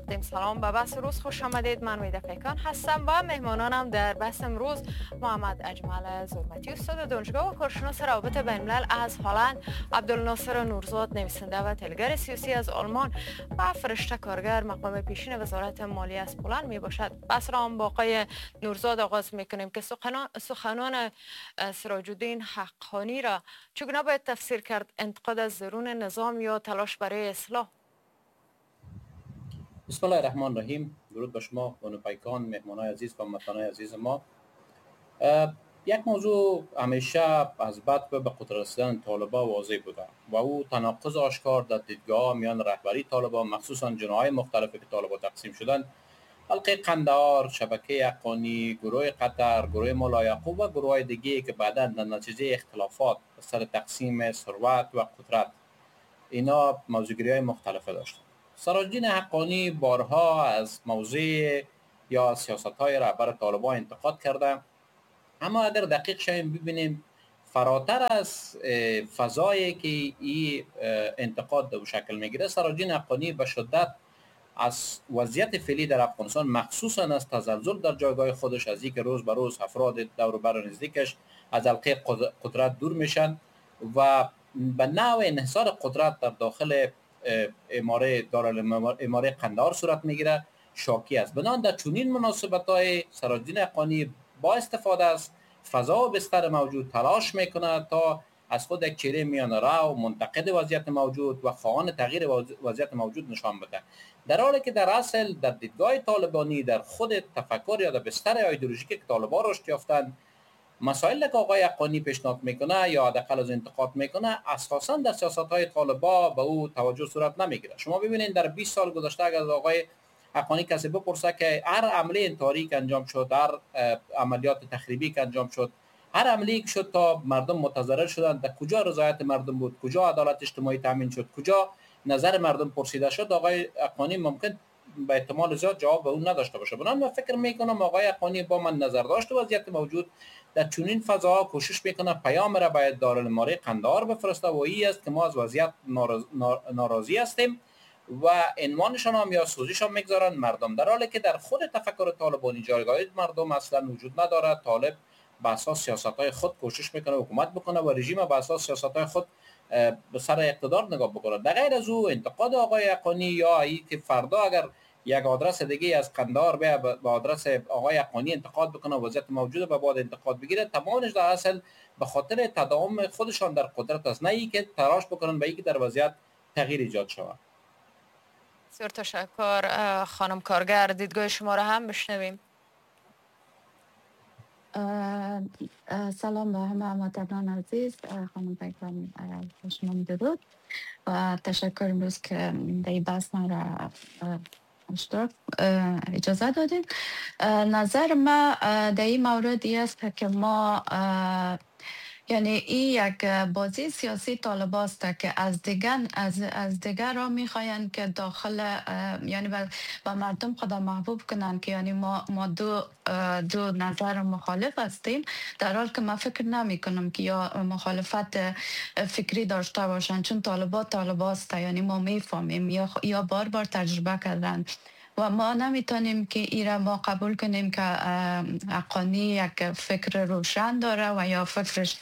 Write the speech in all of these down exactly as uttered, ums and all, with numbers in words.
تقدیم سلام به بحث روز خوش آمدید. من ویدا پیکان هستم و مهمانانم در بحث امروز محمد اجمل زرمتی، استاد دانشگاه و کارشناس روابط بین الملل از هلند، عبدالناصر نورزاد نویسنده و تلگر سیاسی از آلمان و فرشته کارگر مقام پیشین وزارت مالی از پولند می باشد. بحث را هم با آقای نورزاد آغاز می کنیم که سخنان, سخنان سراج الدین حقانی را چگونه باید تفسیر کرد؟ انتقاد از درون نظام یا تلاش برای اصلاح؟ بسم الله الرحمن الرحیم. درود به شما بانو پیکان، مهمانای عزیز و هموطنای عزیز ما. یک موضوع همیشه از بعد به قدرت رسیدن طالبان واضح بوده و او تناقض آشکار در دیدگاه میان رهبری طالبان، مخصوصا جناح‌های مختلفی که طالبان تقسیم شدند، حلقه قندهار، شبکه حقانی، گروه قطر، گروه ملا یعقوب و گروه‌های دیگه که بعداً در نتیجه اختلافات سر تقسیم ثروت و قدرت اینا موضوعگیری‌های مختلفه داشتند. سراج الدین حقانی بارها از موضع یا سیاست‌های رهبر طالبان انتقاد کرده، اما اگر دقیق شویم ببینیم فراتر از فضایی که این انتقاد به شکل میگیره، سراج الدین حقانی به شدت از وضعیت فعلی در افغانستان، مخصوصا از تزلزل در جایگاه خودش، از اینکه روز به روز افراد دور و بر نزدیکش از حلقه قدرت دور میشن و به نوع انحصار قدرت در داخل اماره دارالاماره قندهار صورت میگیره، شاکی است. بنابراین در چنین مناسبت‌های سراج الدین حقانی با استفاده از فضا و بستر موجود تلاش میکنه تا از خود یک چهره میانه رو، منتقد وضعیت موجود و خواهان تغییر وضعیت موجود نشان بده، در حالی که در اصل در دیدگاه طالبانی، در خود تفکر یا در بستر ایدئولوژیکی که طالبان رشد یافتند، مسائل که آقای حقانی پیشنهاد میکنه یا حداقل از انتقاد میکنه اساسا در سیاست های طالبان به او توجه صورت نمیگیره. شما ببینید در بیست سال گذشته اگر از آقای حقانی کسی بپرسه که هر عملی انتحاری که انجام شد، هر عملیات تخریبی که انجام شد، هر عملی که شد تا مردم متضرر شدند، در کجا رضایت مردم بود، کجا عدالت اجتماعی تامین شد، کجا نظر مردم پرسیده شد، آقای حقانی ممکن به احتمال زیاد جواب به اون نداشته باشه. بنابراین من فکر میکنم آقای حقانی با من نظر داشت وضعیت موجود در چنین فضاها کوشش میکنه پیام را باید دارالاماره قندهار بفرسته و این است که ما از وضعیت ناراض... ناراضی هستیم و عنوانشان هم یا سوزیشان میگذارن مردم، در حالی که در خود تفکر طالبانی جایگاه مردم اصلا وجود ندارد. طالب به اساس سیاست‌های خود کوشش میکنه حکومت بکنه و رژیم به اساس سیاست‌های خود به سر اقتدار نگاه بکنه. در غیر از او انتقاد آقای حقانی یا ای که فردا اگر یک آدرس دیگه از قندهار به به آدرس آقای حقانی انتقاد بکنه، وضعیت موجود به بعد انتقاد بگیره، تمامش در اصل به خاطر تداوم خودشان در قدرت است، نه ای که تلاش بکنن به ای که در وضعیت تغییر ایجاد شود. بسیار تشکر. خانم کارگر، دیدگاه شما را هم بشنویم. سلام به همه هموطنان عزیز. خانم پیکان، شما درود و تشکر امروز که در این بحث ما را اشتراک اجازه دادین. نظر ما در این مورد است که ما یعنی این یک بازی سیاسی طالب است که از دیگر از از دیگر را میخواین که داخل، یعنی با مردم خدا محبوب کنن که یعنی ما ما دو دو نظر مخالف هستیم، در حال که من فکر نمی کنم که یا مخالفت فکری داشته باشن، چون طالبا طالب است، یعنی ما میفهمیم یا یا بار بار تجربه کردن و ما نمیتونیم که ایره ما قبول کنیم که حقانی یک فکر روشن داره و یا فکرش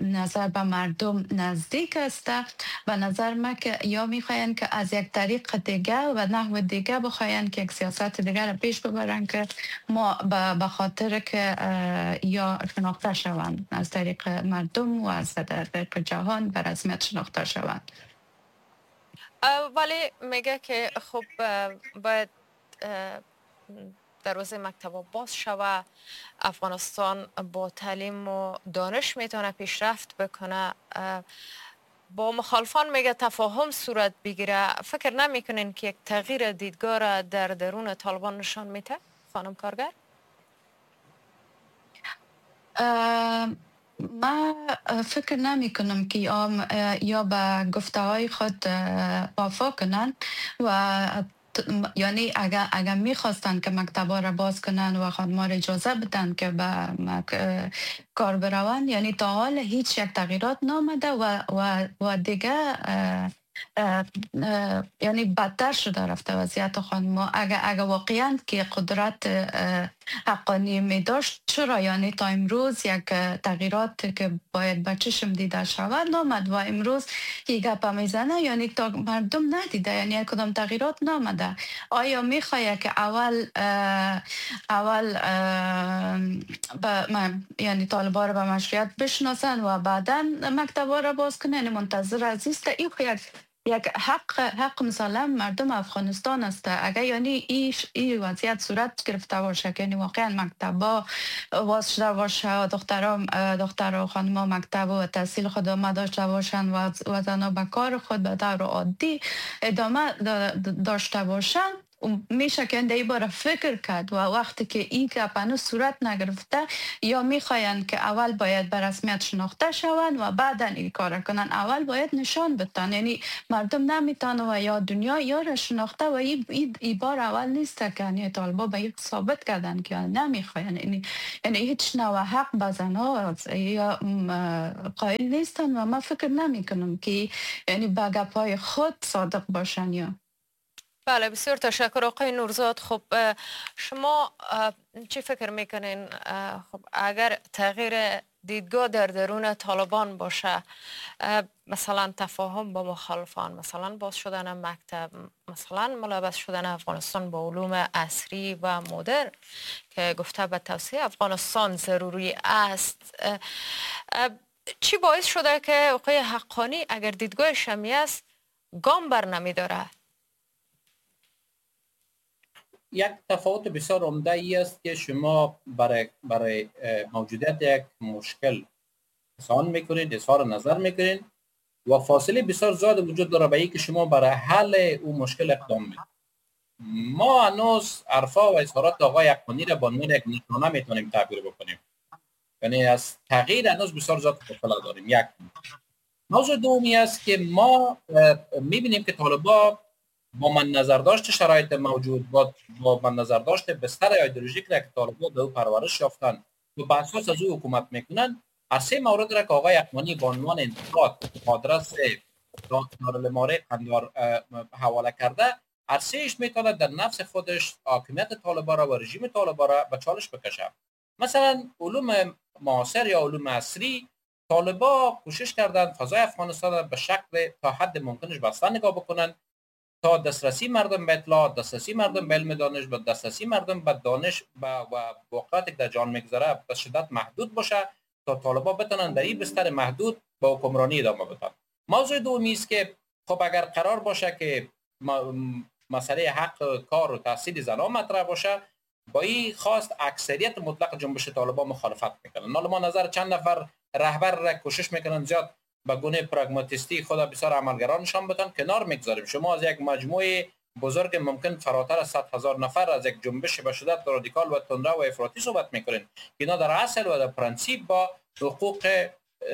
نظر به مردم نزدیک است. به نظر ما که یا میخواین که از یک طریق دیگه و نحو دیگه بخواین که یک سیاست دیگه را پیش ببرن که ما به خاطر که یا شناخته شوند از طریق مردم و از طریق جهان به رسمیت شناخته شوند. ولی میگه که خب باید دروازه مکتب باز شوه، افغانستان با تعلیم و دانش میتونه پیشرفت بکنه، با مخالفان میگه تفاهم صورت بگیره. فکر نمیکنین که یک تغییر دیدگاه را در درون طالبان نشان میده خانم کارگر؟ ما فکر نمی کنم که یا, یا به گفته های خود وفا کنن و یعنی اگر اگر میخواستن که مکتبا را باز کنن و خانم‌ها را اجازه بدن که به کار بروند، یعنی تا حال هیچ یک تغییرات نامده و و و دیگه یعنی بدتر شده رفته وضعیت خانم‌ها. اگر اگر واقعا که قدرت حقانی می داشت، چرا یعنی تا امروز یک تغییرات که باید به چشم دیده شود نامد و امروز که گپ میزنه یعنی تا مردم ندیده، یعنی کدام تغییرات نامده. آیا میخواد که اول اول با یعنی طالبان رو به مشروعیت بشناسن و بعدا مکتب را باز کنن؟ یعنی منتظر عزیز این یک یک حق حق مثلا مردم افغانستان است. اگر یعنی ایش ای وضعیت صورت گرفته باشه که یعنی واقعا مکتبا باز شده باشه، دخترها دختر و خانم‌ها مکتب و تحصیل خود ادامه داشته باشن و و زنها به کار خود به طور عادی ادامه داشته باشن، میشه که این باره فکر کرد. و وقتی که این گپ هنوز صورت نگرفته، یا میخواین که اول باید به رسمیت شناخته شوند و بعدا این کار کنن، اول باید نشان بدن، یعنی مردم نمیتونه و یا دنیا یا را شناخته و این ای بار اول نیست که یعنی طالبا به یک ثابت کردن که نمیخواین، یعنی یعنی هیچ نوع حق به زنها یا قائل نیستن و ما فکر نمیکنم که یعنی به گپای خود صادق باشن. یا بله، بسیار تشکر آقای نورزاد. خب شما چی فکر میکنین؟ خب اگر تغییر دیدگاه در درون طالبان باشه، مثلا تفاهم با مخالفان، مثلا باز شدن مکتب، مثلا ملابس شدن افغانستان با علوم عصری و مدرن که گفته به توسعه افغانستان ضروری است، چی باعث شده که آقای حقانی اگر دیدگاه شمی است گام بر نمیداره؟ یک تفاوت بسیار عمده ای است که شما برای برای موجودیت یک مشکل اظهار میکنید، اظهار نظر میکنید و فاصله بسیار زیاد وجود داره به اینکه شما برای حل او مشکل اقدام میکنید. ما هنوز حرفا و اظهارات آقای حقانی را با عنوان یک نشانه میتونیم تعبیر بکنیم، یعنی از تغییر هنوز بسیار زیاد فاصله داریم. یک موضوع دومی است که ما میبینیم که طالبا با من نظر داشت شرایط موجود، با با من نظر داشت بستر ایدئولوژیک را که طالبان به او پرورش یافتن و به اساس از او حکومت میکنن، از سه مورد را که آقای حقانی با عنوان انتقاد آدرس دارالاماره قندهار حواله کرده، هر سهش میتونه در نفس خودش حاکمیت طالبان را و رژیم طالبان را به چالش بکشه. مثلا علوم معاصر یا علوم عصری، طالبان کوشش کردند فضای افغانستان را به شکل تا حد ممکنش بسته نگاه بکنن تا دسترسی مردم به اطلاعات، دسترسی مردم به علم دانش و دسترسی مردم به دانش و واقعیت که در جهان میگذره به شدت محدود باشه تا طالبان بتونن در این بستر محدود با حکمرانی ادامه بدن. موضوع دومی است که خب اگر قرار باشه که مسئله حق کار و تحصیل زنان مطرح باشه، با این خواست اکثریت مطلق جنبش طالبان مخالفت میکنن. حالا ما نظر چند نفر رهبر را کوشش میکنن زیاد به گونه پراگماتیستی خود بسیار عملگرا نشان بدن، کنار میگذاریم. شما از یک مجموعه بزرگ ممکن فراتر از صد هزار نفر از یک جنبش به شدت رادیکال و تندرو و افراطی صحبت میکنین که اینا در اصل و در پرنسیپ با حقوق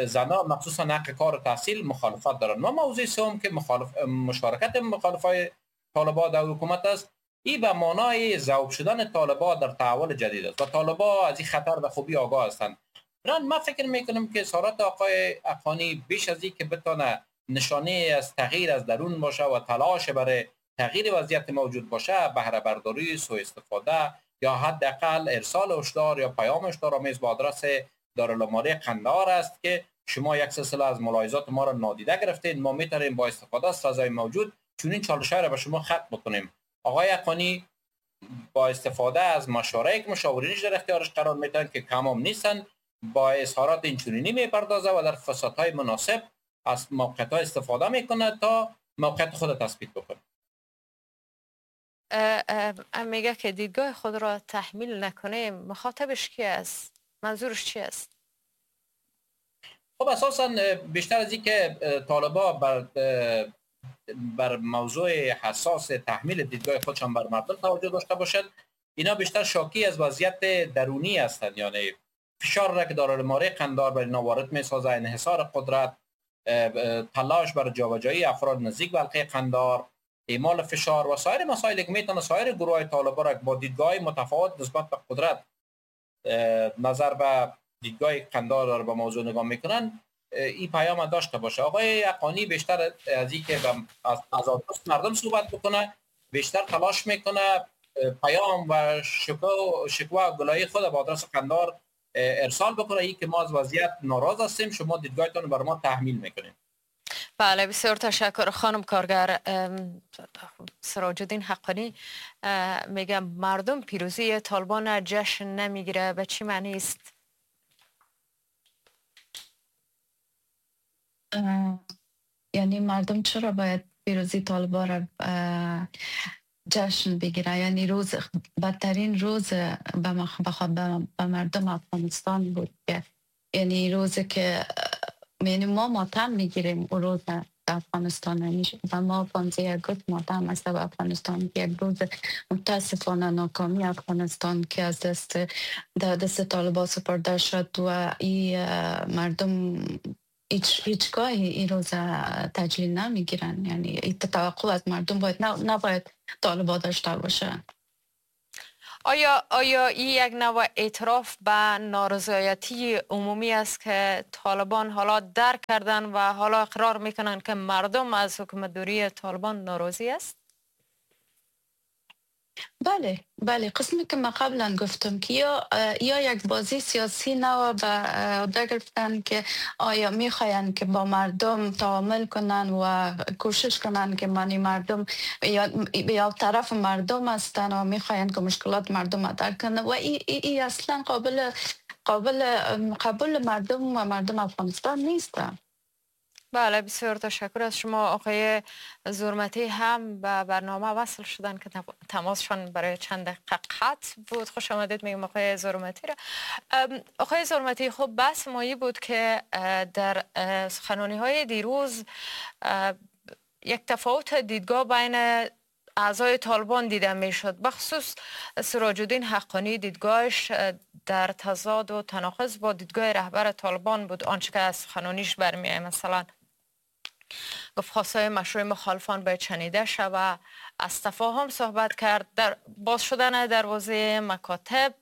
زنان مخصوصا حق کار و تحصیل مخالفت دارن. ما موضوع سوم که مخالف مشارکت مخالفای طالبان در حکومت است، این به معنای ذوب شدن طالبان در تحول جدید است و طالبان از این خطر به خوبی آگاه هستند. من فکر میکنم که اظهارات آقای حقانی بیش از این که بتونه نشانه از تغییر از درون باشه و تلاش برای تغییر وضعیت موجود باشه، بهره برداری، سوء استفاده یا حداقل ارسال هشدار یا پیام هشدارآمیز با آدرس دارالاماره قندهار است که شما یک سلسله از ملاحظات ما را نادیده گرفتید، ما میتونیم با استفاده از فضای موجود چنین چالش‌ها را به شما ختم بکنیم. آقای حقانی با استفاده از مشوره‌ای که مشاورینش در اختیارش قرار میدن که کم هم نیستن، با اظهارات اینچنینی میپردازه و در فرصت‌های مناسب از موقعیت‌ها استفاده میکنه تا موقعیت خود تثبیت بکنه. میگه که دیدگاه خود را تحمیل نکنه، مخاطبش کی است؟ منظورش چی است؟ خب اساساً بیشتر از اینکه طالبا بر بر موضوع حساس تحمیل دیدگاه خودشان بر مردم توجه داشته باشند، اینا بیشتر شاکی از وضعیت درونی هستند، یعنی فشار را که دارالاماره قندهار بر اینا وارد میسازه، انحصار قدرت، تلاش بر جابجایی افراد نزدیک به حلقه قندهار، اعمال فشار و سایر مسائل که میتونه سایر گروه طالبان را با دیدگاه متفاوت نسبت به قدرت نظر به دیدگاه قندهار داره به موضوع نگاه میکنن، این پیام داشته باشه. آقای حقانی بیشتر از اینکه از از مردم صحبت بکنه، بیشتر تلاش میکنه پیام و شکوه شکوه و گلایه خود به آدرس قندار ارسال بکنه، ای که ما از وضعیت ناراض هستیم، شما دیدگاهتون بر ما تحمیل میکنید. بله، بسیار تشکر خانم کارگر. سراج الدین حقانی میگه مردم پیروزی طالبان جشن نمیگیره، به چی معنی است؟ یعنی مردم چرا باید پیروزی طالبان را جشن بگیره؟ یعنی روز بدترین روز به مردم افغانستان بود که یعنی روزی که یعنی ما ماتم میگیریم اون روز در افغانستان و ما پانزده اگست ماتم است در افغانستان، یک روز متاسفانه ناکامی افغانستان که از دست در دست طالبان سپرده شد و این مردم هیچ هیچگاهی این روز تجلیل نمیگیرن. یعنی این توقع از مردم باید نباید طالبان داشته باشه. آیا آیا این یک نوع اعتراف به نارضایتی عمومی است که طالبان حالا درک کردن و حالا اقرار میکنن که مردم از حکومتداری طالبان ناراضی است؟ بله بله، قسمی که من قبلا گفتم که یا یا یک بازی سیاسی نو به عهده گرفتن که آیا میخواین که با مردم تعامل کنن و کوشش کنن که معنی مردم یا یا طرف مردم هستن و میخواین که مشکلات مردم درک کنن و ای, ای, ای اصلا قابل قابل قبول مردم و مردم افغانستان نیستن. بله، بسیار تشکر از شما. آقای زرمتی هم به برنامه وصل شدن که تماسشان برای چند دقیقه قطع بود. خوش آمدید میگم آقای زرمتی را. آقای زرمتی، خب بحث مایی بود که در سخنرانی های دیروز یک تفاوت دیدگاه بین اعضای طالبان دیده میشد، بخصوص سراج الدین حقانی دیدگاهش در تضاد و تناقض با دیدگاه رهبر طالبان بود. آنچه که از سخنرانیش برمیآید، مثلا گفت خواستهای مشروع مخالفان باید شنیده شود، از تفاهم صحبت کرد، در باز شدن دروازه مکاتب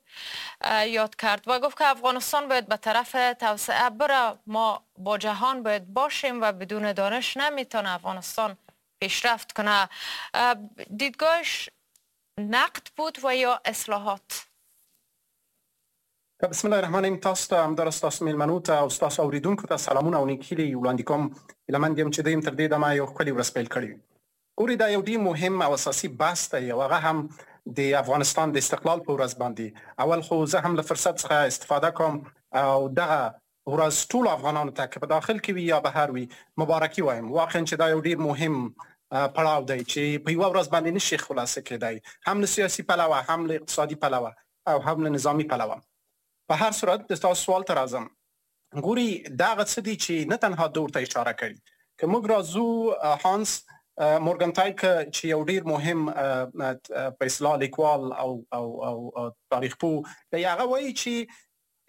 یاد کرد و گفت که افغانستان باید به طرف توسعه بره، ما با جهان باید باشیم و بدون دانش نمیتونه افغانستان پیشرفت کنه. دیدگاهش نقد بود و یا اصلاحات؟ بسم الله الرحمن الرحیم. تاسو ته همداراز ستاسو مېلمنو ته او ستاسو اورېدونکو ته سلامونه او نیکې هیلې وړاندې کوم. هیله مند یم چې دوی هم تر دې دمه یو ښکلې ورځ پیل کړې وي. ګورئ، دا یو ډېر مهم او اساسي بحث دی او هغه هم د افغانستان د استقلال په ورځ باندې. اول خو زه هم له فرصت څخه استفاده کوم او دغه ورځ ټولو افغانانو ته که په داخل کې وي یا بهر وي مبارکي وایم. واقعا چې دا یو ډېر مهم پړاو دی چې په یوه ورځ باندې نشي خلاصه کېدای، هم له سیاسي پلوه، هم له اقتصادي پلوه او هم له نظامي پلوه. په هر صورت د تاسو سوال ته راځم. ګوري، دا هغه څه دي چې نه تنها ده ورته اشاره کړې، که موږ راځو هانس مورګنتایک چې یو ډیر مهم په اصطلاح لیکوال او او او تاریخ پوه دی، هغه وایي چې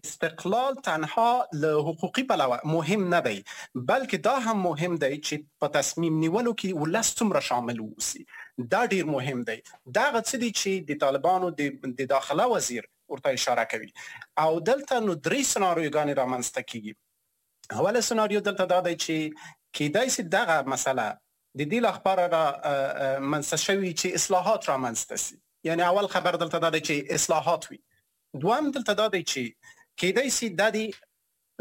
استقلال تنها له حقوقي پلوه مهم نه دی، بلکې دا هم مهم دی چې په تصمیم نیولو کې ولس څومره شامل اوسي. دا ډیر مهم دی. دا هغه څه دي چې د طالبانو د داخله وزیر ورته اشاره کوي. او دلته نو درې سناریوګانې رامنځته کیږي. اوله سناریو دلته دا دی چې کیدای شي دغه مسله د دې لپاره را منځته شوي چې اصلاحات رامنځته شي. یعنی اول خبر دلته دا دی چې اصلاحات وي. دوم دلته دا دی چې کیدای شي د دې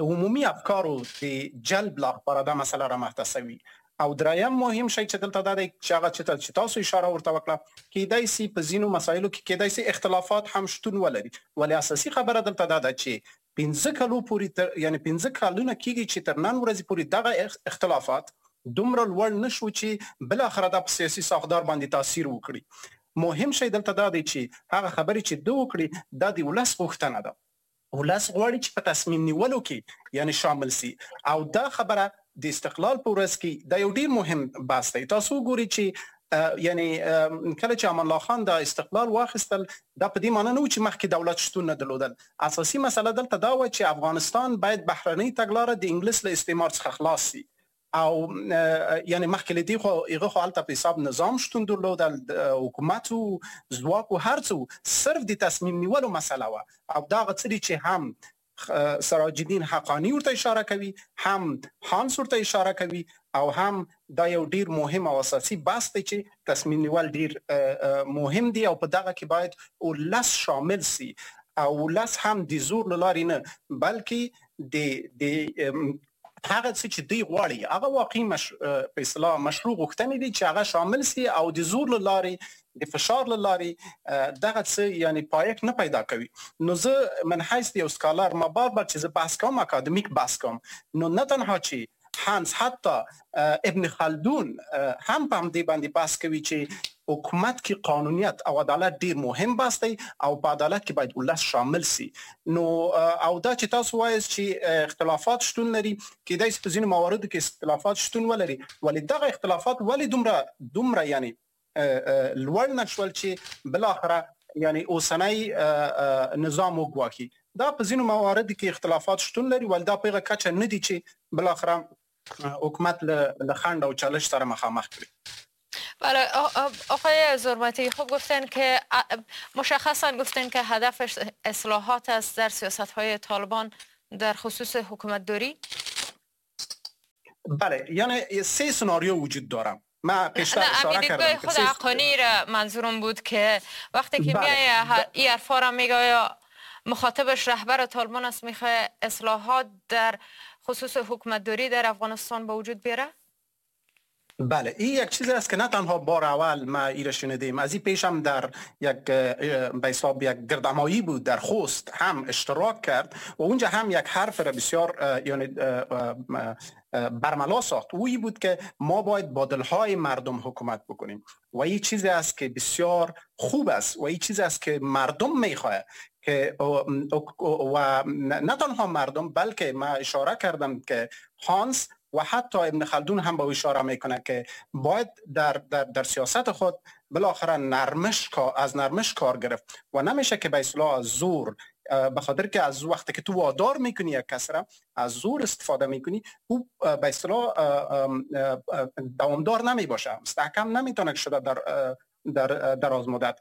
عمومي افکارو د جلب لپاره دا مسله رامخته شوي. او دریم مهم شی چې دلته دا دی چې هغه چې تاسو اشاره ورته وکړه، کیدای شي په ځینو مسایلو کې کیدای شي اختلافات هم شتون ولري، ولی اساسي خبره دلته دا ده چې پنځه کلو پورې تر یعنی پنځه کلونه کیږي چې تر نن ورځې پورې دغه اختلافات دومره لوړ نه شو چې بالاخره دا په سیاسي ساختار باندې تاثیر وکړي. مهم شی دلته دا دی چې هغه خبرې چې ده وکړي دا د ولس غوښتنه ده. ولس غواړي چې په تصمیم نیولو کې یعنی شامل سي. او دا خبره د استقلال په ورځ کې دا یو ډیر مهم بحث دی. تاسو وګورئ چې یعنی کله چې امان الله خان دا استقلال واخیستل، دا په دې معنی نه و چې مخکې دولت شتون نه درلودل. اساسي مسله دلته دا وه چې افغانستان باید بهرنۍ تګلاره د انګلیس له استعمار څخه خلاص سي. او یعنی مخکې له دې خو هغه خو هلته په حساب نظام شتون درلودل، حکومت و ځواک و هر څه، صرف د تصمیم نیولو مسله وه. او دا هغه څه دي چې هم سراج الدین حقانی ورته اشاره کوي، هم هانس ورته اشاره کوي، او هم دا یو ډیر مهم او اساسي بحث دی چې تصمیم نیول ډیر مهم دی او په دغه کې باید ولس شامل سي، او ولس هم د زور له لارې نه بلکې د د هغه څه چې دوی غواړي هغه واقعي مش... په اصطلاح مشروع غوښتنې دي چې هغه شامل سي او د زور له لارې د فشار له لارې دغه څه یعنی پایښت نه پیدا کوي. نو زه من حیث یو scholar ما بار بار چې زه بحث کوم اکادمیک بحث کوم، نو نه تنها چې هانس حتی ابن خلدون هم په همدې باندې بحث کوي چې حکومت کې قانونیت او عدالت ډیر مهم بحث دی او په عدالت کې باید ولس شامل سي. نو او دا چې تاسو وایاست چې اختلافات شتون لري، کیدای شي په ځینو مواردو کې اختلافات شتون ولري، ولې دغه اختلافات ولې دومره دومره یعنی لوړ نه شول چې بالاخره یعنی اوسنی نظام وګواښي؟ دا په ځینو مواردو کې اختلافات شتون لري، ولې دا په هغه کچه نه دي چې بالاخره حکومت له خنډ او چالش سره مخامخ کړي. بله آقای زرمتی، خب گفتن که مشخصا گفتن که هدفش اصلاحات است در سیاست‌های طالبان در خصوص حکومت داری؟ بله، یعنی سه سناریو وجود داره. من پیشتر اشاره کردم خود حقانی را منظورم بود که وقتی که میای این حرفا را میگه مخاطبش رهبر طالبان است، میخواد اصلاحات در خصوص حکومت داری در افغانستان به وجود بیاره؟ بله، این یک چیز است که نه تنها بار اول ما ایره شنیدیم، از این پیش هم در یک به حساب یک گردهمایی بود در خوست هم اشتراک کرد و اونجا هم یک حرف را بسیار یعنی برملا ساخت. او این بود که ما باید با دلهای مردم حکومت بکنیم و این چیزی است که بسیار خوب است و این چیزی است که مردم میخواه که و نه تنها مردم بلکه ما اشاره کردم که هانس و حتی ابن خلدون هم به اشاره میکنه که باید در, در, در سیاست خود بالاخره نرمش از نرمش کار گرفت و نمیشه که به اصطلاح از زور، به خاطر که از وقتی که تو وادار میکنی یک کس را از زور استفاده میکنی، او به اصطلاح دوامدار نمیباشه، مستحکم نمیتونه شده در در دراز مدت.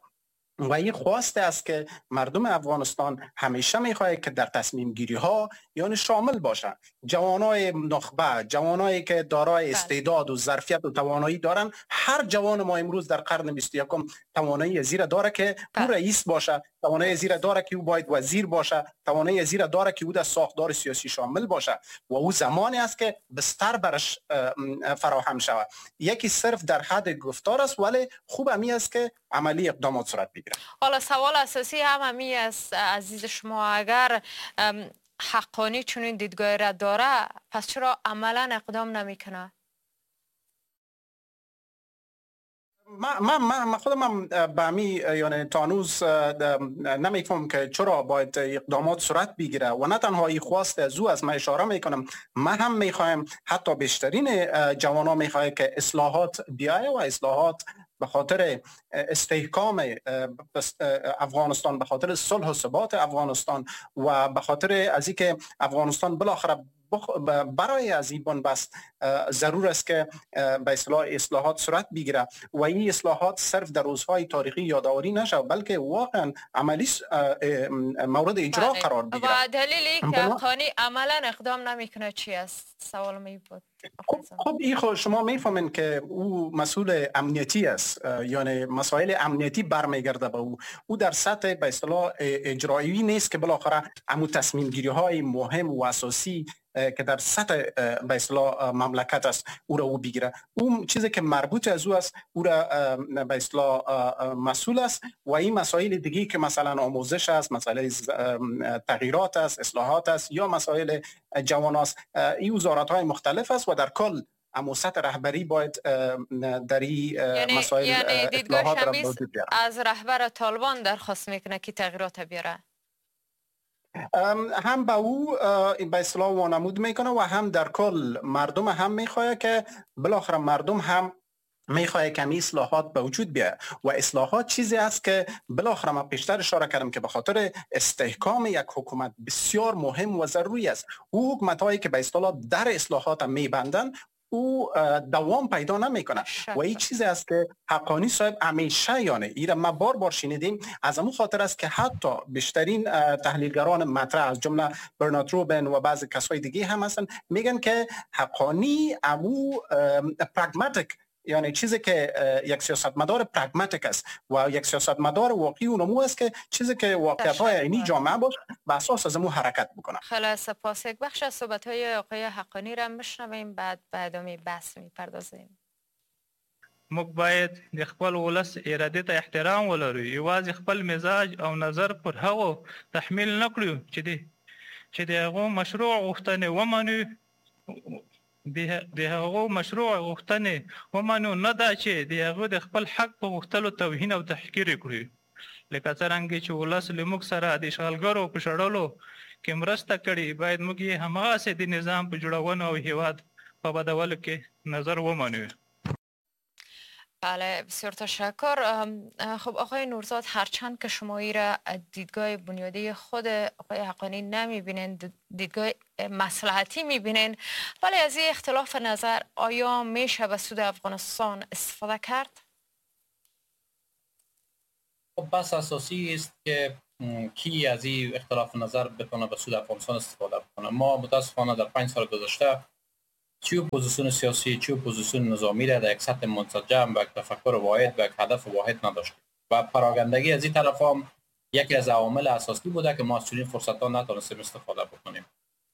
و این خواست است که مردم افغانستان همیشه میخواد که در تصمیم گیری ها یعنی شامل باشن، جوانای نخبه، جوانایی که دارای استعداد و ظرفیت و توانایی دارن. هر جوان ما امروز در قرن بیست و یکم توانایی زیر داره که او رئیس باشه، توانایی زیر داره که او باید وزیر باشه، توانایی زیر داره که او در ساختار سیاسی شامل باشه و او زمانی است که بستر برش فراهم شود. یکی صرف در حد گفتار است، ولی خوب همی است که عملی اقدامات صورت بگیره. حالا سوال اساسی هم همی است عزیز شما، اگر حقانی چنین دیدگاهی را داره پس چرا عملا اقدام نمیکنه؟ ما ما ما خودم به همی یعنی تا هنوز نمیفهم که چرا باید اقدامات صورت بگیره و نه تنها این خواست از او از من اشاره میکنم، من هم میخوایم حتی بیشترین جوانا میخواه که اصلاحات بیایه و اصلاحات به خاطر استحکام افغانستان، به خاطر صلح و ثبات افغانستان و به خاطر از اینکه افغانستان بالاخره برای از این بن‌بست ضرور است که به اصطلاح اصلاحات صورت بگیره و این اصلاحات صرف در روزهای تاریخی یادآوری نشه بلکه واقعا عملی مورد اجرا قرار بگیره. و دلیلی که حقانی عملا اقدام نمیکنه چی است؟ سوال می بود. خب خب این خب شما میفهمین که او مسئول امنیتی است، یعنی مسائل امنیتی برمیگرده به او. او در سطح به اصطلاح اجرایی نیست که بالاخره امو تصمیم گیری های مهم و اساسی که در سطح به اصطلاح مملکت است او را او بگیره. اون چیزی که مربوط از او است او را به اصطلاح مسئول است و این مسائل دیگه که مثلا آموزش است، مسائل تغییرات است، اصلاحات است یا مسائل جوان است، این وزارت های مختلف است و در کل اما سطح رهبری باید در این یعنی مسائل یعنی دیدگاه را از رهبر طالبان درخواست میکنه که تغییرات بیاره. هم به او به اصطلاح وانمود میکنه و هم در کل مردم هم میخواه که بالاخره مردم هم میخواه که اصلاحات به وجود بیاید و اصلاحات چیزی است که بالاخره من پیشتر اشاره کردم که به خاطر استحکام یک حکومت بسیار مهم و ضروری است. او حکومت هایی که به اصطلاح در اصلاحات میبندن او دوام پیدا نمیکنه و این چیزی است که حقانی صاحب همیشه، یعنی ایره ما بار بار شنیدیم، از امو خاطر است که حتی بیشترین تحلیلگران مطرح از جمله برنارد روبن و بعضی کسای دیگه هم هستن، میگن که حقانی امو pragmatic، یعنی چیزی که یک سیاستمدار pragmatic است و یک سیاستمدار واقعی اونمو است که چیزی که واقعیت های عینی جامعه باشه به اساس از امو حرکت بکنه. خیلی سپاس. یک بخش از صحبت های آقای حقانی را میشنویم، بعد به ادامه بحث میپردازیم. موږ باید د خپل ولس ارادې ته احترام ولرو، یوازې خپل مزاج او نظر پر هغو تحمیل نه کړو چې د چې د هغو مشروع غوښتنې ومنو، د هغو مشروع غوښتنې ومنو، نه دا چې د هغو د خپل حق په غوښتلو توهین او تحقیر کړو. لکه څرنګه چې ولس له موږ سره د اشغالګرو په شړلو کې مرسته کړې، باید موږ یې هماغسې د نظام په جوړونه او هیواد په بدولو کې نظر ومنو. بله، بسیار تشکر. خب آقای نورزاد، هرچند که شما ای را دیدگاه بنیادی خود آقای حقانی نمیبینین، دیدگاه مصلحتی میبینین، ولی از این اختلاف نظر آیا میشه به سود افغانستان استفاده کرد؟ خب بس اساسی است که کی از این اختلاف نظر بتونه به سود افغانستان استفاده کنه. ما متاسفانه در پنج سال گذشته چه اپوزیسیون سیاسی چه اپوزیسیون نظامی را در یک سطح منسجم و یک تفکر واحد و یک هدف واحد نداشتیم و پراگندگی از این طرف هم یکی از عوامل اساسی بوده که ما از چنین فرصت‌ها نتونستیم استفاده بکنیم.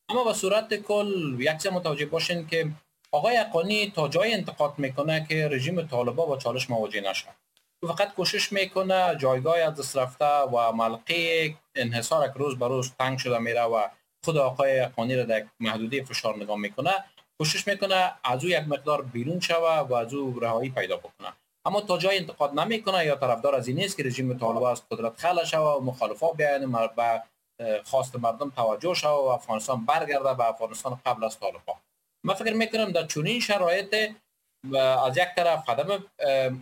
اما به صورت کل یک چیز متوجه باشین که آقای حقانی تا جای انتقاد میکنه که رژیم طالبان با چالش مواجه نشه، او فقط کوشش میکنه جایگاه از دست رفته و ملقه انحصار که روز به روز تنگ شده میره و خود آقای حقانی را در محدوده فشار نگاه میکنه، کوشش میکنه از او یک مقدار بیرون شوه و از او رهایی پیدا بکنه. اما تا جای انتقاد نمیکنه یا طرفدار از این نیست که رژیم طالبان از قدرت خلع شوه و مخالفا بیاین و خواست مردم توجه شوه و افغانستان برگرده به افغانستان قبل از طالبان. من فکر میکنم در چنین شرایط از یک طرف عدم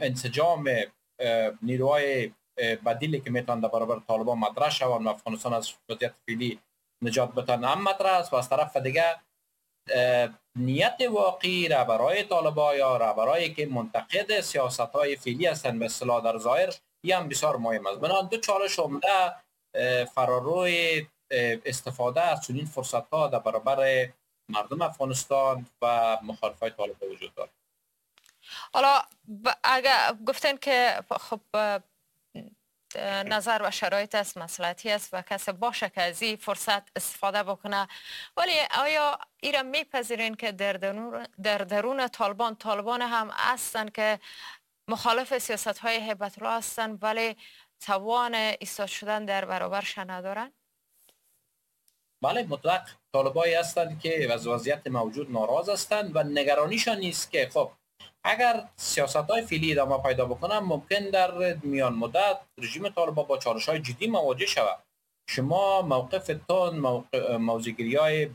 انسجام نیروهای بدیلی که میتونن در برابر طالبان مطرح شوند و افغانستان از وضعیت فعلی نجات بدن هم مطرح است و از طرف دیگه نیت واقعی رهبرای طالبان یا رهبرایی که منتقد سیاست‌های فعلی هستند به اصطلاح در ظاهر، این هم بسیار مهم است. بنابراین دو چالش عمده فراروی استفاده از چنین فرصت‌ها در برابر مردم افغانستان و مخالفای طالبان وجود دارد. حالا اگر گفتن که خب نظر و شرایط است، مصلحتی است و کسی باشه که از این فرصت استفاده بکنه، ولی آیا ایرا میپذیرین که در درون در درون طالبان طالبان هم هستند که مخالف سیاست های هبت الله هستند ولی توان ایستاد شدن در برابرش ندارن؟ بله، مطلق طالبایی هستند که از وضعیت موجود ناراض هستند و نگرانیشان نیست که خب اگر سیاست‌های فعلی ادامه پیدا بکنن ممکن در میان مدت رژیم طالبان با چالش‌های جدی مواجه شود. شما موقفتون، موقع موضع‌گیری‌های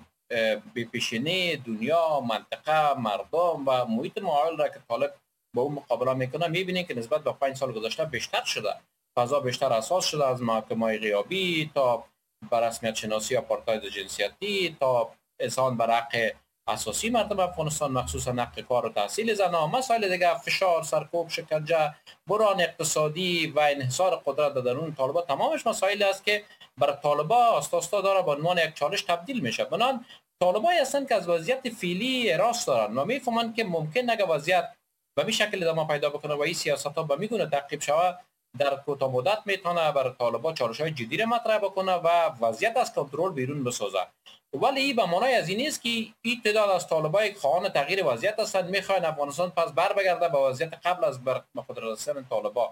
بی‌پیشینه دنیا، منطقه، مردم و محیط معایل را که طالب با اون مقابله میکنه میبینید که نسبت به پنج سال گذشته بیشتر شده، فضا بیشتر اساس شده، از محاکمه‌های غیابی تا به رسمیت شناسی آپارتاید جنسیتی تا اذعان بر حق اساسی مردم افغانستان، مخصوصا حق کار و تحصیل زنان، مسائل دیگه، فشار، سرکوب، شکنجه، بحران اقتصادی و انحصار قدرت در درون طالبان، تمامش مسائل است که بر طالبان آستا آستا داره به عنوان یک چالش تبدیل میشه. بنابراین طالبایی هستند که از وضعیت فعلی راست دارن و میفهمند که ممکن اگه وضعیت به می شکل ادامه پیدا بکنه و این سیاست ها به میگونه تعقیب شود، در کوتاه مدت میتونه بر طالبان چالش های جدی را مطرح بکنه و وضعیت از کنترل بیرون بسازه. ولی این به معنای از این نیست که این تعداد از طالبان خواهان تغییر وضعیت هستند، میخواین افغانستان پس بر بگرده به وضعیت قبل از بر قدرت رسیدن طالبان.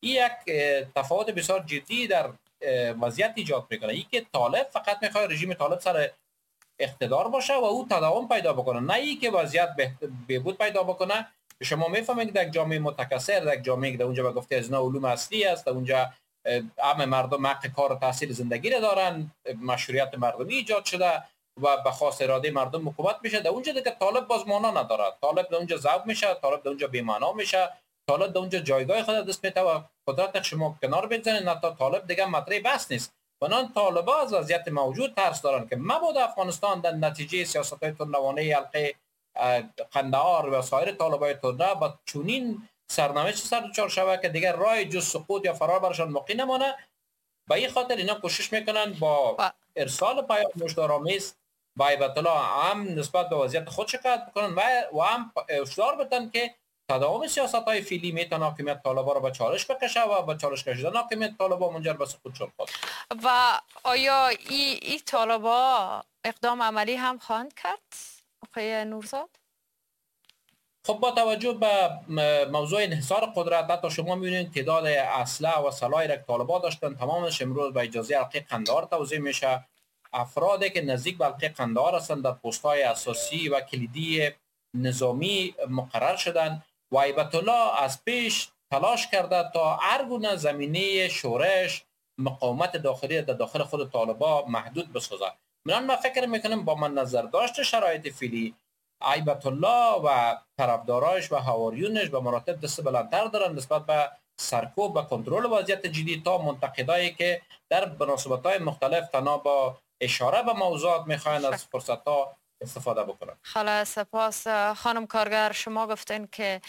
این یک تفاوت بسیار جدی در وضعیت ایجاد میکنه. این که طالب فقط میخواد رژیم طالب سر اقتدار باشه و او تداوم پیدا بکنه، نه این که وضعیت بهبود پیدا بکنه. شما میفهمید که در جامعه متکثر، در جامعه که در اونجا به گفته از اینا علوم اصلی است، در اونجا عام مردم حق کار و تحصیل زندگی را دارن، مشروعیت مردمی ایجاد شده و به خواست اراده مردم حکومت میشه، در اونجا دیگه طالب باز معنا نداره. طالب در اونجا ذوب میشه، طالب در اونجا بی معنا میشه، طالب در اونجا جایگاه خود دست میده و قدرت شما کنار بزنید، نه تا طالب دیگه مطرح بس نیست. بنان طالبا از وضعیت موجود ترس دارن که مبادا افغانستان در نتیجه سیاست‌های تندروانه حلقه قندهار و سایر طالبای تندرو با چنین سرنوشت سر دچار شود که دیگر راه جز سقوط یا فرار برشان باقی نمانه. به این خاطر اینا کوشش میکنن با ارسال پیام هشدارآمیز با هیبت الله هم نسبت به وضعیت خود شکایت بکنن و و هم هشدار بدن که تداوم سیاست های فعلی میتونه حاکمیت طالبان را به چالش بکشه و به چالش کشیدن حاکمیت طالبان منجر به سقوط شد. و آیا ای ای طالبان اقدام عملی هم خواهند کرد آقای نورزاد؟ خب با توجه به موضوع انحصار قدرت، حتی شما میبینید تعداد اسلحه و سلاحی را که طالبان داشتن تمامش امروز به اجازه حلقه قندهار توزیع میشه. افرادی که نزدیک به حلقه قندهار هستند در پست‌های اساسی و کلیدی نظامی مقرر شدن و هیبت الله از پیش تلاش کرده تا هر گونه زمینه شورش مقاومت داخلی در داخل خود طالبان محدود بسازد. من من فکر میکنم با من نظر داشت شرایط فعلی هیبت الله و طرفدارایش و حواریونش به مراتب دست بلندتر دارن نسبت به سرکوب و کنترل وضعیت جدی تا منتقدایی که در مناسبت‌های مختلف تنها با اشاره به موضوعات میخواین از فرصت‌ها استفاده بکنن. خلا سپاس. خانم کارگر، شما گفتین که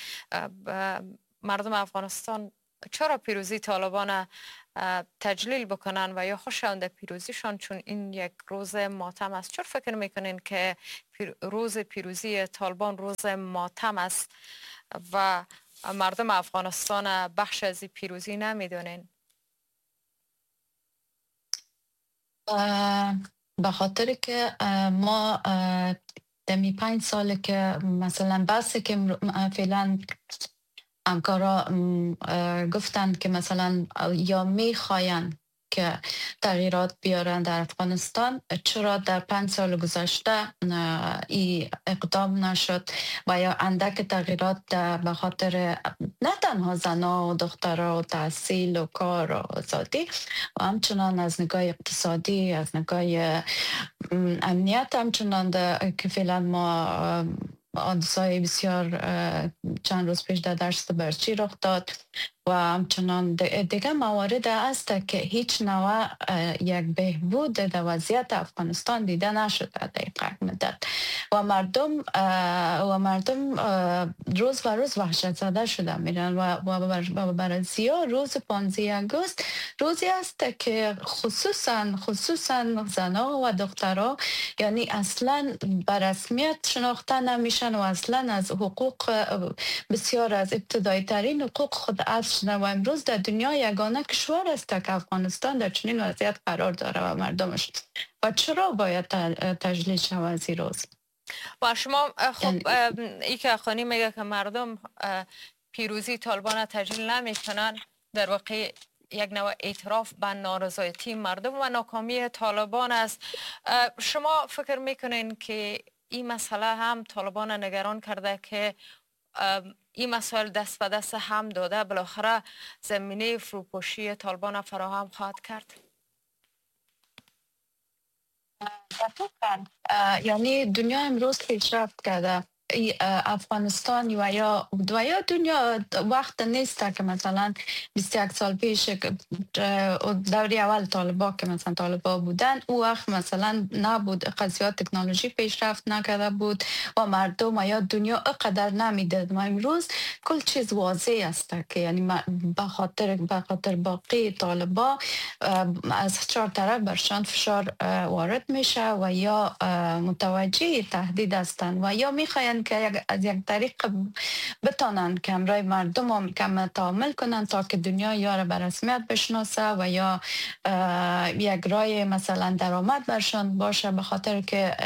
مردم افغانستان چرا پیروزی طالبان تجلیل بکنن و یا خوشند پیروزیشان، چون این یک روز ماتم است. چرا فکر میکنین که روز پیروزی طالبان روز ماتم است و مردم افغانستان بخش از پیروزی نمیدونین؟ به خاطر که ما دمی پنج ساله که مثلا بحثی که فعلا همکارا گفتند که مثلا یا میخواین که تغییرات بیارن در افغانستان، چرا در پنج سال گذشته این اقدام نشد و یا اندک تغییرات به خاطر نه تنها زنها و دخترها و تحصیل و کار و آزادی و همچنان از نگاه اقتصادی، از نگاه امنیت، همچنان که فعلا ما حادثه‌های بسیار چند روز پیش در دشت برچی رخ داد و همچنان دیگه موارد است که هیچ نوع یک بهبود در وضعیت افغانستان دیده نشده در یک مدت و مردم و مردم روز به روز وحشت زده شده میرن و و برای زیاد روز پانزده آگوست روزی است که خصوصا خصوصا زنها و دخترها یعنی اصلا به رسمیت شناخته نمیشن و اصلا از حقوق بسیار از ابتدایی ترین حقوق خود از و امروز در دنیا یگانه کشور است که افغانستان در چنین وضعیت قرار داره و مردمش و چرا باید تجلیل شود از این روز؟ و شما خب ای که خانی میگه که مردم پیروزی طالبان تجلیل نمیکنن، در واقع یک نوع اعتراف به نارضایتی مردم و ناکامی طالبان است. شما فکر میکنین که این مسئله هم طالبان نگران کرده که این مسائل دست به دست هم داده بالاخره زمینه فروپاشی طالبان فراهم خواهد کرد؟ دقیقاً، یعنی دنیا امروز پیشرفت کرده. افغانستان و یا و یا دنیا وقت نیست که مثلا بیست و یک سال پیش دوری اول طالبا که مثلا طالبا بودن او وقت مثلا نبود، قضیه تکنولوژی پیشرفت نکرده بود و مردم و یا دنیا اقدر نمیدید. ما امروز کل چیز واضح است که یعنی به خاطر به خاطر باقی طالبا از چهار طرف برشان فشار وارد میشه و یا متوجه تهدید هستند و یا میخواین که از یک طریق بتانن که همراه مردم هم کم تعامل کنن تا که دنیا یا را به رسمیت بشناسه و یا یک رای مثلا درآمد برشان باشه، به خاطر که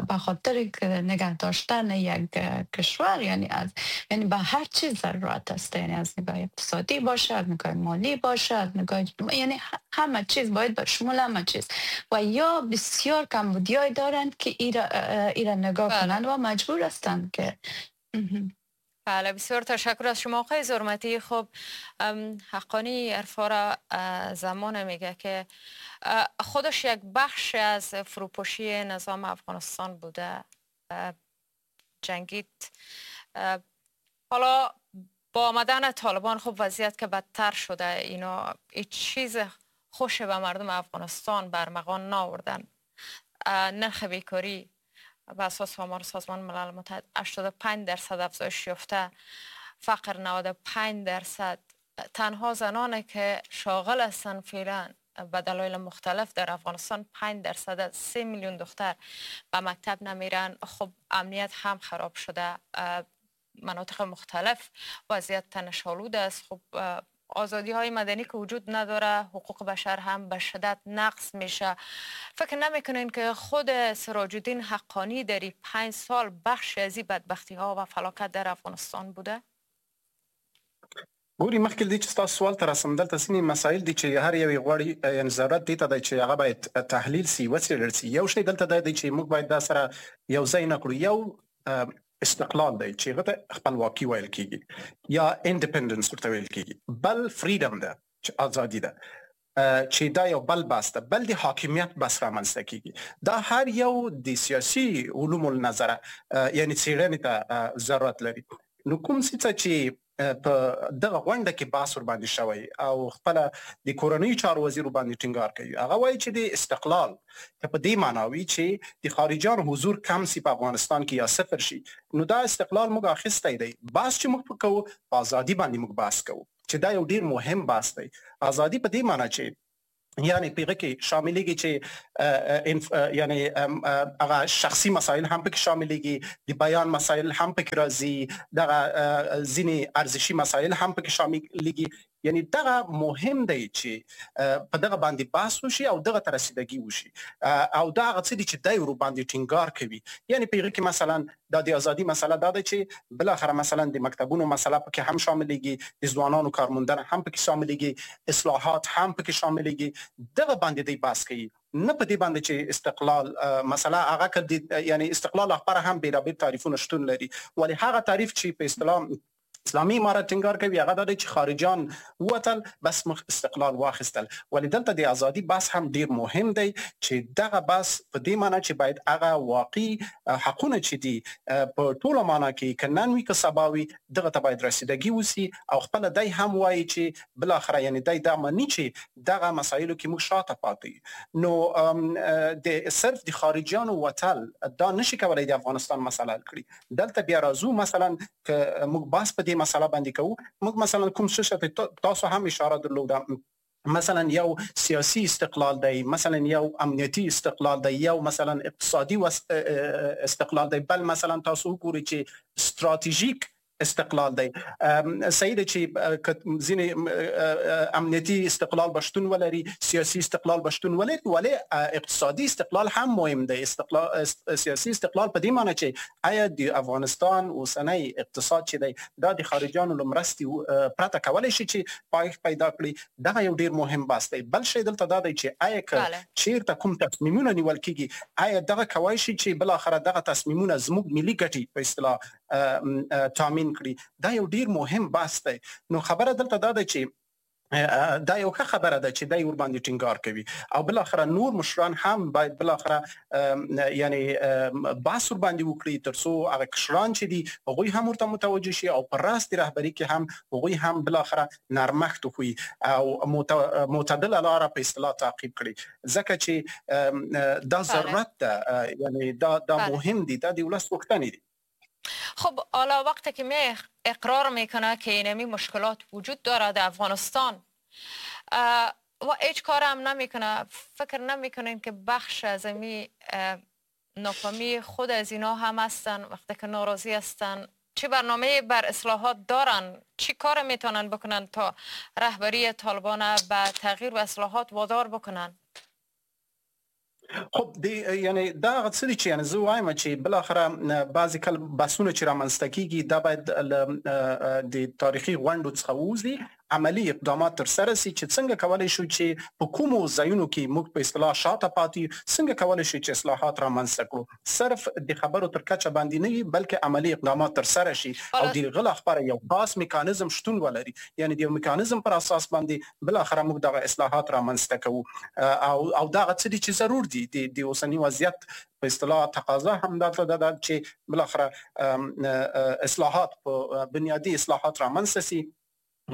به خاطر که نگه داشتن یک کشور یعنی از یعنی به هر چیز ضرورت است، یعنی از نگاه اقتصادی باشه، از نگاه مالی باشه، از نگاه یعنی همه چیز باید به شمول همه چیز و یا بسیار کمبودیای دارند که ایرا ایرا نگاه کنند و مجبور هستند که. بله، بسیار تشکر از شما آقای زرمتی. خب حقانی عرفا زمان میگه که خودش یک بخش از فروپاشی نظام افغانستان بوده، جنگید. حالا با آمدن طالبان خب وضعیت که بدتر شده، اینا هیچ چیز خوش به مردم افغانستان برمغان نآوردن. نرخ بیکاری، به اساس آمار سازمان ملل متحد هشتاد و پنج درصد افزایش یافته، فقر نود و پنج درصد، تنها زنانی که شاغل هستند فعلا به دلایل مختلف در افغانستان پنج درصد از سه میلیون دختر به مکتب نمیرن. خب امنیت هم خراب شده، مناطق مختلف وضعیت تنش‌آلود است. خب آزادی های مدنی که وجود نداره، حقوق بشر هم به شدت نقض میشه. فکر نمیکنین که خود سراج الدین حقانی در این پنج سال بخش از این بدبختی ها و فلاکت در افغانستان بوده؟ ګوري، مخکې له دې چې ستاسو سوال ته راسم، دلته ځینې مسایل دي چې هر یو یې غواړي، یعنې ضرورت دې ته دی چې هغه باید تحلیل سي، وڅېړل سي. یو شی دلته دا دی چې موږ باید دا سره یو ځای نه کړو. یو استقلال دی چې هغه ته خپلواکي ویل کېږي یا independence ورته ویل کېږي، بل freedom ده چې ازادي ده، چې دا یو بل بحث ده، بل د حاکمیت بحث رامنځته کېږي. دا هر یو د سیاسي علومو له نظره یعنې څېړنې ته ضرورت لري. نو کوم څه چې په دغه غونډه کې بحث ورباندې شوی او خپله د کورنیو چارو وزیر ورباندې ټینګار کوي، هغه وایي چې د استقلال که په دې معنا وي چې د خارجیانو حضور کم سي په افغانستان کې یا صفر شي، نو دا استقلال موږ اخیستی دی. بحث چې موږ کوو په ازادي باندې موږ بحث کوو، چې دا یو ډیر مهم بحث دی. ازادي په دې معنا چې یعنی په هغه کې شاملېږي چې یعنی هغه شخصي مسایل هم پکې شاملېږي، د بیان مسایل هم پکې راځي، دغه ځینې ارزشي مسایل هم پکې شاملېږي. یعنی دغه مهم دی چې په دغه باندې بحث وشي او دغه ته رسیدګي وشي، او دا هغه څه دي چې دی ورباندې ټینګار کوي. یعنی په هغه کې مثلا دا د ازادي مسله دا ده چې بالاخره مثلا د مکتبونو مسله پکې هم شاملېږي، د ځوانانو کارموندنه هم پکې شاملېږي، اصلاحات هم پکې شاملېږي. دغه باندې دی بحث کوي، نه په دې باندې چې استقلال مسله هغه که یعنی استقلال لپاره هم بېلابېل تعریفونه شتون لري، ولی هغه تعریف چې په اصطلاح اسلامي امارت ټینګار کوي هغه دا دی چې خارجان ووتل بس مخ استقلال واخیستل. ولی دلته د ازادي بحث هم ډیر مهم دی چې دغه بحث په دې معنی چې باید هغه واقعي حقونه چې دي په ټوله معنا کې که نن وي که سبا وي دغه ته باید رسیدګي وسي. او خپله دی هم وایي چې بالاخره یعنی دی دا مني چې دغه مسایلو کې موږ شاته پاتې. نو د صرف د خارجیانو وتل دا نشي کولای د افغانستان مسله حل کړي. دلته بیا راځو مثلا که موږ بحث په دې مسله باندې کوو، موږ مثلا کوم څه ته تاسو هم اشاره درلوده، مثلا یو سیاسي استقلال دی، مثلا یو امنیتي استقلال دی، یو مثلا اقتصادي استقلال دی، بل مثلا تاسو وګورئ چې ستراتیژیک استقلال دی. صحیح ده چې ځینې امنیتي استقلال به شتون ولري، سیاسي استقلال به شتون ولري، ولی اقتصادي استقلال هم مهم دی. استقلال سیاسي استقلال په دې معنی چې آیا د افغانستان اوسنی اقتصاد چې دی دا د خارجیانو له مرستې پرته کولی شي چې پایښت پیدا کړي، دغه یو ډیر مهم بحث دی. بل شی دلته دا دی چې آیا که چیرته کوم تصمیمونه نیول کیږي، آیا دغه کولی شي چې بالاخره دغه تصمیمونه زموږ ملي ګټې په اصطلاح تامین کړي، دا یو ډیر مهم بحث دی. نو خبره دلته دا ده چې دا یو ښه خبره ده چې دی ورباندې ټینګار کوي، او بالاخره نور مشران هم باید بالاخره یعنی بحث ورباندې وکړي ترڅو هغه کشران چې دي هغوی هم ورته متوجه شي، او په راس د رهبري کې هم هغوی هم بالاخره نرمښت وښيي او معتدله لاره په اصطلاح تعقیب کړي، ځکه چې دا ضرورت ده، یعنی دا دا مهم دي، دا د ولس غوښتنې دي. خب حالا وقتی که می اقرار میکنه که اینمی مشکلات وجود داره در افغانستان و هیچ کار هم نمیکنه، فکر نمیکنین که بخش از امی ناکامی خود از اینا هم هستن وقتی که ناراضی هستن؟ چه برنامه بر اصلاحات دارن؟ چی کار میتونن بکنن تا رهبری طالبان به تغییر و اصلاحات وادار بکنن؟ خب دی یعنی دا هغه څه دي چې یعنی زه وایم چې بالاخره بعضې کله بحثونه چې رامنځته کیږي دا باید د تاریخي غونډو څخه ووځي، عملي اقدامات ترسره سي چې څنګه کولی شو چې په کومو ځایونو کې موږ په اصطلاح شاته پاتې یو، څنګه کولی شو چې اصلاحات رامنځته کړو. صرف د خبرو تر کچه باندې نه وي، بلکې عملي اقدامات ترسره شي او د هغه لپاره یو خاص میکانیزم شتون ولري، یعنی د یو میکانیزم پر اساس باندې بالاخره موږ دغه اصلاحات رامنځته کوو. او او دغه څه دي چې ضرور دي د اوسني وضعیت په اصطلاح تقاضا هم دا ده چې بالاخره اصلاحات په بنیادي اصلاحات رامنځته سي،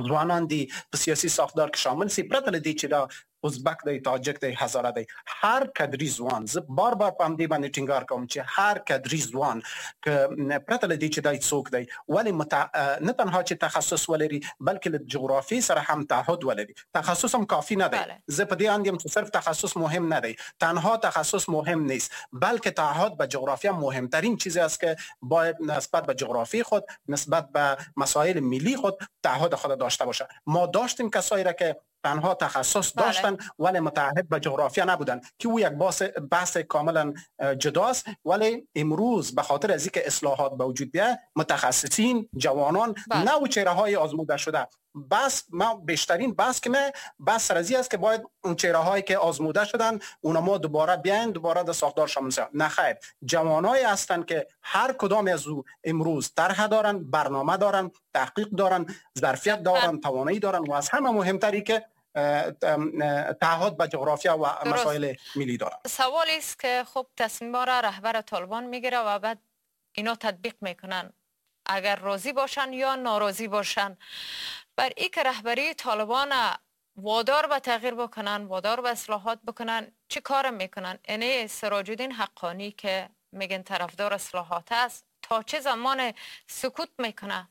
ځوانان دي په سیاسي ساختار کې شامل سي، پرته له دې چې دا ازبک دی، تاجک دی، هزاره دی، هر کدري ځوان، زه بار بار په همدې باندې ټینګار کوم چې هر کدري ځوان که پرته له دې چې دی څوک دی، ولې متع... نه تنها چې تخصص ولري بلکې له جغرافیې سره هم تعهد ولري. تخصص هم کافي نه دی، زه په دې اند یم چې صرف تخصص مهم نه دی، تنها تخصص مهم نیست، بلکه تعهد به جغرافیا مهمترین چیزی است که باید نسبت به جغرافی خود، نسبت به مسائل ملی خود تعهد خود داشته باشه. ما داشتیم کسایی را که تنها تخصص داشتن ولی متعهد به جغرافیا نبودن که او یک بحث بحث کاملا جداست. ولی امروز به خاطر از اینکه اصلاحات به وجود بیاید، متخصصین، جوانان، نه و چهره های آزموده شده، بس ما بیشترین بحث که ما بحث سر از است که باید اون چهره هایی که آزموده شدن اونا ما دوباره بیاین دوباره در ساختار شامل شوند. نه خیر، جوانایی هستند که هر کدام از او امروز طرح دارن، برنامه دارن، تحقیق دارن، ظرفیت دارن، توانایی دارن و از همه مهمتری که تعهد به جغرافیا و مسائل ملی دارن. سوالی است که خب تصمیم را رهبر طالبان میگیره و بعد اینا تطبیق میکنن، اگر راضی باشن یا ناراضی باشن. بر ای که رهبری طالبان وادار به تغییر بکنن، وادار به اصلاحات بکنن، چه کار میکنن؟ یعنی سراج الدین حقانی که میگن طرفدار اصلاحات است، تا چه زمان سکوت میکنه؟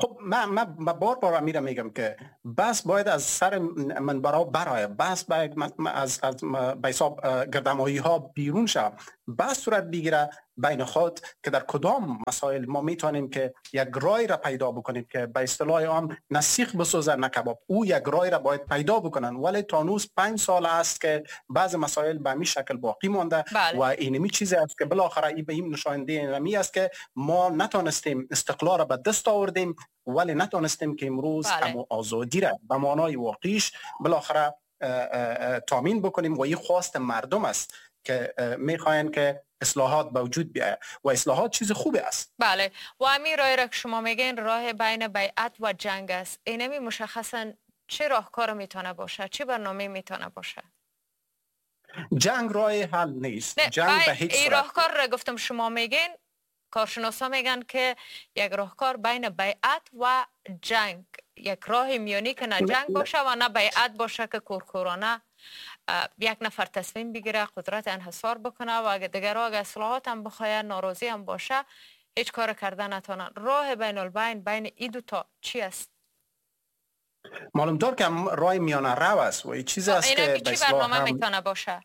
خب من من بار بار میرم میگم که بس باید از سر منبرها برای، بس باید از از به حساب گردمایی ها بیرون شه، بس صورت بگیره بین خود که در کدام مسائل ما میتونیم که یک رای را پیدا بکنیم که به اصطلاح عام نه سیخ بسوزه نه کباب. او یک رای را باید پیدا بکنن، ولی تا هنوز پنج سال است که بعض مسائل به همین شکل باقی مانده. بله. و اینمی چیزی است که بالاخره این به این نشانده اینمی است که ما نتونستیم استقلال را به دست آوردیم، ولی نتونستیم که امروز بله. آزادی را به معنای واقعیش بالاخره تامین بکنیم و این خواست مردم است که میخواین که اصلاحات به وجود بیاید و اصلاحات چیز خوبی است. بله، و همین راه را که شما میگین راه بین بیعت و جنگ است، اینمی مشخصا چه راهکار میتونه باشه، چه برنامه میتونه باشه؟ جنگ راه حل نیست. نه، جنگ به هیچ صورت. راهکار را گفتم شما میگین، کارشناسا میگن که یک راهکار بین بیعت و جنگ، یک راه میانی که نه جنگ باشه و نه بیعت باشه که کورکورانه یک نفر تصمیم بگیره قدرت انحصار بکنه و اگه دیگرها اگه اصلاحات هم بخواه ناراضی هم باشه هیچ کار کردن نتونن. راه بین البین بین این دو تا چی است؟ معلوم دار که راه میانه رو است و این چیز است که چی برنامه هم... میتونه باشه؟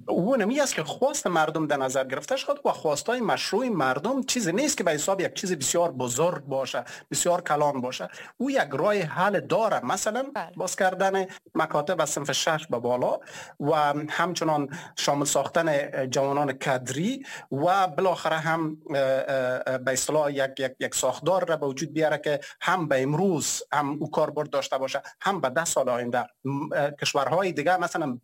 او نمی است که خواست مردم در نظر گرفته شد و خواستای مشروع مردم چیزی نیست که به حساب یک چیز بسیار بزرگ باشه، بسیار کلان باشه. او یک راه حل داره، مثلا بله. باز کردن مکاتب از صنف شش به بالا و همچنان شامل ساختن جوانان کادری و بالاخره هم به اصطلاح یک یک یک ساختار را به وجود بیاره که هم به امروز هم او کاربرد داشته باشه، هم به ده سال آینده. کشورهای دیگه مثلا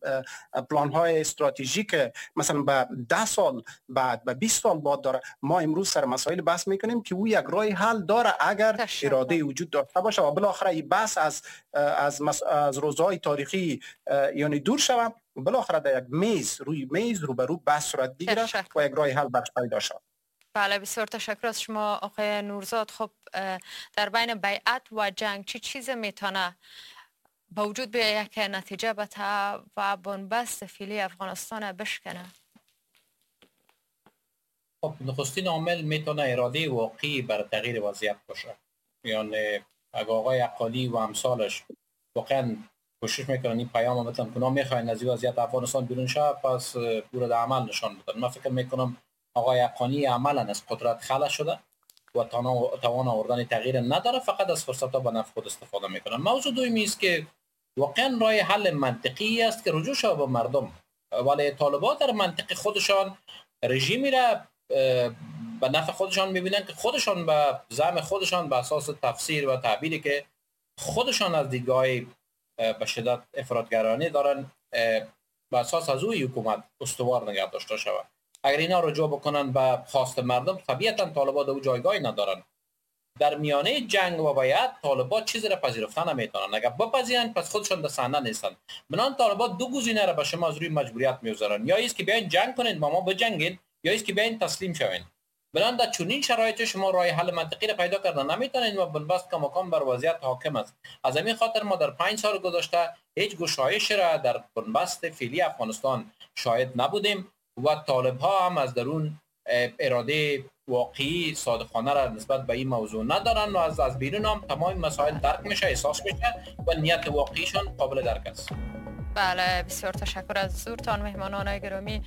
پلان‌های استراتژیک مثلا به ده سال بعد، به بیست سال بعد داره. ما امروز سر مسائل بحث میکنیم که او یک راه حل داره اگر اراده وجود داشته باشه و بالاخره این بحث از از مس... از روزهای تاریخی یعنی دور شود، بالاخره در یک میز روی میز روبرو بحث صورت بگیره و یک راه حل برش پیدا شود. بله، بسیار تشکر از شما آقای نورزاد. خب در بین بیعت و جنگ چی چیز میتونه با وجود به یک نتیجه بته و بنبست فعلی افغانستان بشکنه؟ خب نخستین عامل میتونه اراده واقعی بر تغییر وضعیت باشه. یعنی اگه آقای حقانی و امثالش واقعا کوشش میکنن این پیام مثلا کنا میخواین از این وضعیت افغانستان بیرون شه، پس او را در عمل نشان بدن. من فکر میکنم آقای حقانی عملا از قدرت خلع شده و توان آوردن تغییر نداره، فقط از فرصت ها به نفع خود استفاده میکنن. موضوع دومی است که واقعا راه حل منطقی است که رجوع شود به مردم، ولی طالبان در منطق خودشان رژیمی را به نفع خودشان میبینن که خودشان به زعم خودشان به اساس تفسیر و تعبیری که خودشان از دیدگاه به شدت افراطگرانه دارن به اساس از اوی حکومت استوار نگه داشته شود. اگر اینا رجوع بکنن به خواست مردم، طبیعتا طالبان در او جایگاهی ندارن. در میانه جنگ و باید طالبان چیزی را پذیرفتن نمیتونن. اگر بپذیرن پس خودشان در صحنه نیستن. بنان طالبان دو گزینه را به شما از روی مجبوریت میگذارن: یا ایست که بیاین جنگ کنین با ما بجنگین، یا ایست که بیاین تسلیم شوین. بنابراین در چنین شرایط شما راه حل منطقی را پیدا کردن نمیتونید و بنبست کماکان بر وضعیت حاکم است. از همین خاطر ما در پنج سال گذشته هیچ گشایش را در بنبست فعلی افغانستان شاهد نبودیم و طالب ها هم از درون اراده واقعی صادقانه را نسبت به این موضوع ندارن و از از بیرون هم تمام مسائل درک میشه، احساس میشه و نیت واقعیشان قابل درک است. بله، بسیار تشکر از حضورتان مهمانان گرامی.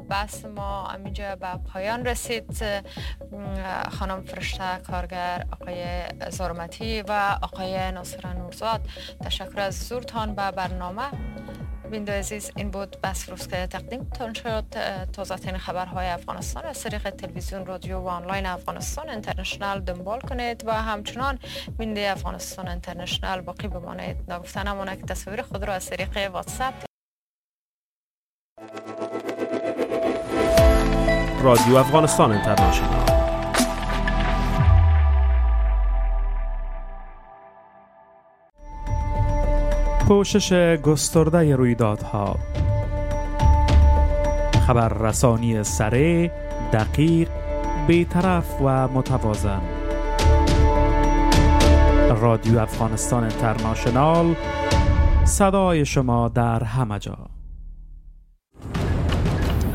بس ما همینجا به پایان رسید. خانم فرشته کارگر، آقای زرمتی و آقای ناصر نورزاد، تشکر از حضورتان به برنامه. بیننده عزیز، این بود بس روز که تقدیمتان شد. تازه ترین خبرهای افغانستان از طریق تلویزیون، رادیو و آنلاین افغانستان اینترنشنال دنبال کنید و همچنان بیننده افغانستان اینترنشنال باقی بمانید. ناگفته نماند که تصاویر خود را از طریق واتساپ رادیو افغانستان اینترنشنال. پوشش گسترده رویدادها، خبررسانی سریع، دقیق، بی‌طرف و متوازن. رادیو افغانستان اینترنشنال، صدای شما در همه جا.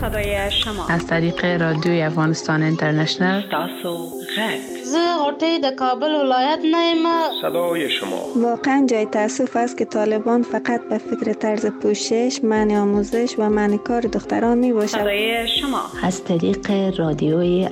صدای شما از طریق رادیوی افغانستان اینترنشنال. تاسو غږ. زه غوټۍ د کابل ولایت نه یم. صدای شما. واقعا جای تاسف است که طالبان فقط به فکر طرز پوشش، منع آموزش و منع کار دختران می باشد. صدای شما از طریق رادیوی